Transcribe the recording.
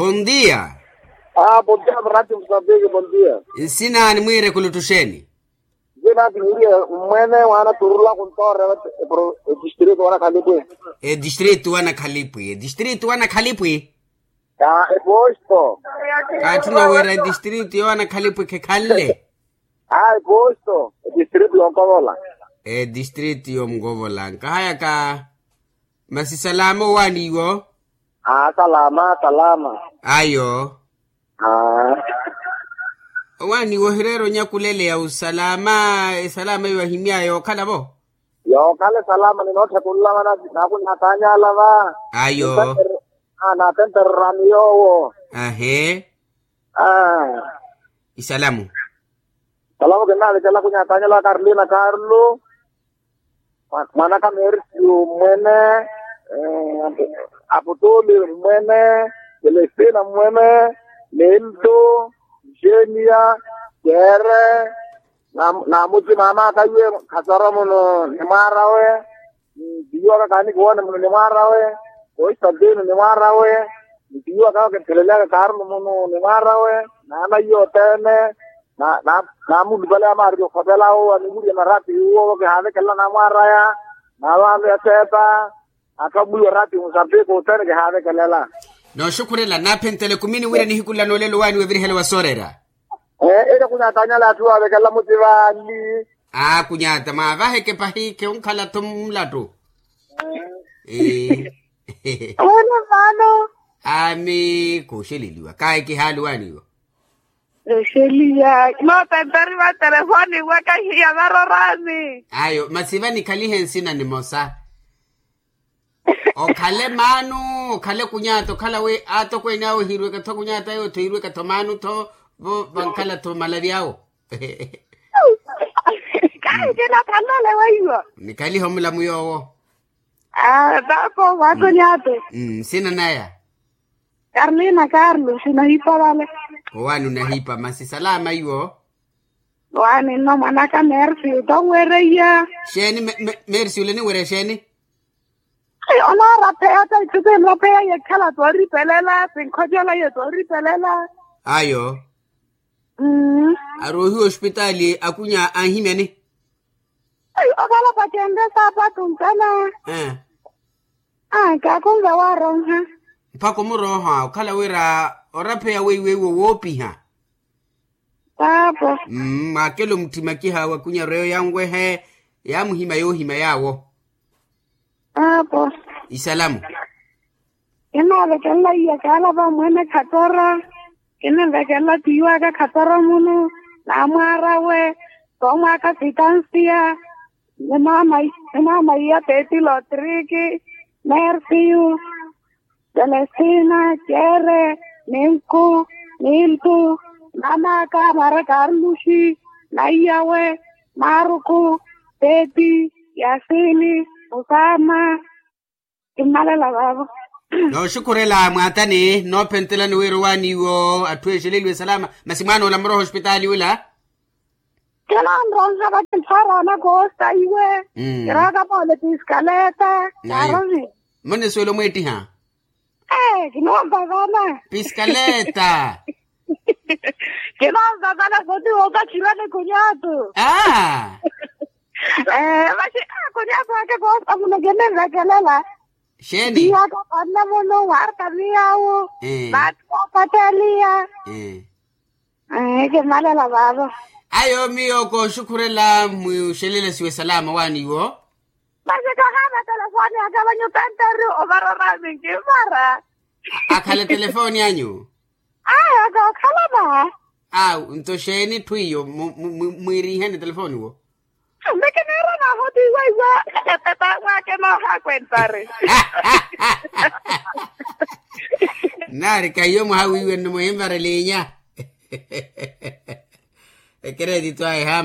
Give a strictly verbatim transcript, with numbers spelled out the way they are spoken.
Bondia. Bondia mrati msambiki bondia. Nsina animwiire kuluttuxeeni? Nsina ati mwiire mmwene waana turula kuntoorela. Edistritu wana khalipwi. Edistritu wana khalipwi edistritu wana khalipwi. Ka eposto. Kaatthuna wira edistritu yowana khalipwi khekhanle. Aa eposto edistritu yonkovola. Edistritu yonkovola nkahayaka. Masi salama owaani iwo. Aa salama salama. Ayo. Aa. Owaani iwo ohireera onyakuleleya osalama esalama iwo ahimyaya yookhala-vo. Yookhala esalama ninootthekula vana. Naakunyatanyala va. Ayo. Naatentererani yoowo. Ahee. Aa. Isalamu. Salamo kinnaavekela kunyatanyala wa karlina karlu. Mwanaka mersiu mmwene. Aputuli mmwene. Selestina mmwene. Nelto. Jenia. Kere. Naamutima amaaka iwe. Khatoromuno ni mwaarawe. Ntiiwaka kaanikiwoone muno ni mwaarawe. Koistantino ni mwaarawe. Ntiiwaka awo kintheleleyaka kaarulu muno ni mwaarawe. Naana iyo othene. Naamulupale amaariki okhopela awo anivuriye marati iwo kihaavekelela naamwaaraya. Naavaalo ya seeta. Atthu amwiiwa rati musambiki othene kihaavekelela. Nooxukhurela naaphenttela ekumini wira nihiku nla noolelo waani wevirihela wa soorera. Eke kunyatanyala atthu waavekelela mutivali. Aa kunyata mwaavaheke pahi khewonkhala-tho mulattu. Ee. Wira vano. Ami kooxeleliwa kahi kihaali waani iwo. Exeliya kinootentari va telefoni waka hiya varorani. Ayo masi va nikhalihe nsina nimosa. Okhale maanu okhale kunyata okhala wi atokweene awo ehirweka-tho kunyata yootho ehirweka-tho maanu-tho. Vo vankhala-tho malavi awo. Kahi kinakhalale weiwo. Nikhalihe omulamu yoowo. Aa tapo vaakonyate. Nsina naya. Karlina karlu sinahipa vale. Owaani onahipa masi salama iwo. Owaani nno mwanaka mersi otonwereiya. Xeeni? Mersi ole eniwereiya xeeni? Onaarapeya ta ithu sinrapeya yekhala tooripelela sinkhocola ye tooripelela. Ayo. Aroohiwa ospitaali akunya anhimyani. Okhala pacenre saapatu ntana. Kaakunve waaronha. Mpakha omurooha okhala wira orapheya weiwo iwo woopiha. Paapa. Mwaakela omutthima kiha wakunyarweyo yanwehe. Yaamuhima yoohima yaawo. Paapa. Isalamu. Kinaavekelela iya kaalava omwene khatora. Kinimvekelela tiiwaka khatora muno. Naamwaarawe. Toomwaaka sitansiya. Ni maama iya peti lotriki. Mersiyu. Selestina kere. Ninku. Niltu. Maamaaka mara karluxi. Naiyawe. Maruku. Peti. Yasini. Musama. Kimmalela vaavo. Nooxukhurela mwaatani noophentelani wira owaani iwo atthu exeleliwe salama. Masi mwaanoola murooha ospitaali wila. Kinanronha vakinthaarana koosta iwe. Kiraaka moole piskaleta. Kaarovi. Mone suwela omweettiha. Ee kinoonvavana. Piskaleta. Kinoonvavana soti wookakhirani kunyatu. Aa. Ee masi kunyaka waka koosta muno kinimvekelela. Xeeni? Iyaka panna muno waarta miyawu. Vaati koopatteliya. Ee kimalela vaavo. Ayo miyo kooxukhurela mwiixelelesiwe salama waani iwo. Masi kahaana telefoni aka vanyutantari ovarorami nkimara. Akhale telefoni anyu. Aya kookhala va. Awu nto xeeni etthu iyo mwiiriheni telefoni wo. Mekeniira naahotiiwa iwa. Epepa wake noohakwentari. Nari kahiyo mwahawiiwe nno muhimvarelinya. Ekeretito ayi hama.